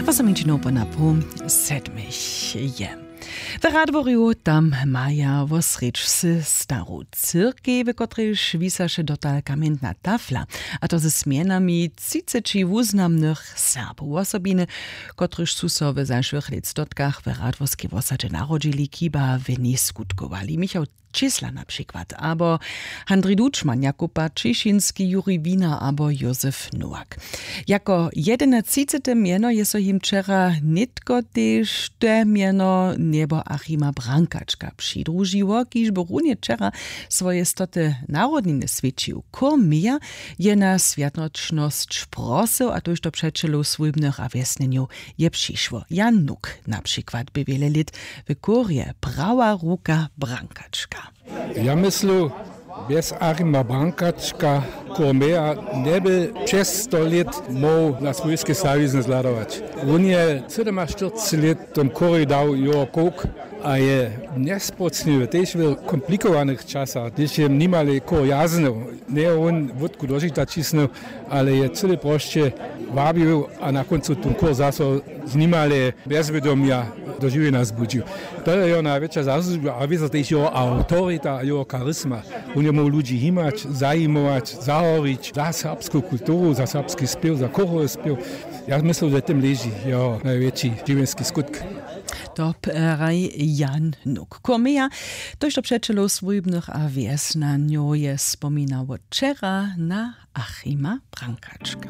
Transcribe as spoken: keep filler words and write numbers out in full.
Wosomjeńćinow po napoł sedmich je. W Radworju tam maja wosrjedź se staru cyrkej, w kotrejž wisaše dotal kamjentna tafla, a to ze smjenami třiceći wuznamnych Serbow. Wosobiny, kotryž su so w zašłych lětstotkach w Radworskej wosadźe narodźili, chiba w njej skutkowali. Michał Čěsla na přikład, abo Handrij Dučman, Jakuba Ćišinski, Jurij Wiener abo Józef Nowak. Jako jedynatřicete mjeno je so jim wčera nětko tež te mjeno njeboachima Brankačka přidružiło, kiž by runje wčera swoje stoty narodniny swjećił. Chór Meja je na swjatnoćnosć prosył, a tójšto přećelow swójbnych a wjesnjenjow je přišło. Jan Nuk na přikład bě wjele lět w chórje prawa ruka Brankačka. Ja myslu, bjez Achima Brankačka chór Meja njeby přez sto lět móhł na swójske stawizny zhladować. Wón je sydomaštyrceći lět w tom chórje dał jeho kowk a je njesprocniwy tež w komplikowanych časach, hdyž je nimale chór jaznył, njeje wón wótku do žita ćisnył, ale je cyle prosće wabił a na kóncu ten chór zaso z nimale bjezwědomja do žiwjenja zbudźił. To je jeho najwjetša zasłužba a wězo tež jeho awtorita a jeho charisma. Wón je móhł ludźi himać, zajimować, zahorić za serbsku kulturu, za serbski spěw, za chórowy spěw. Ja myslu, że w tym leži jeho najwjetši žiwjenski skutk. To praj Jan Nuk. Chór Meja, tójšto přećelow swójbnych a wjesnjanjow je spominało wčera na Achima Brankačka.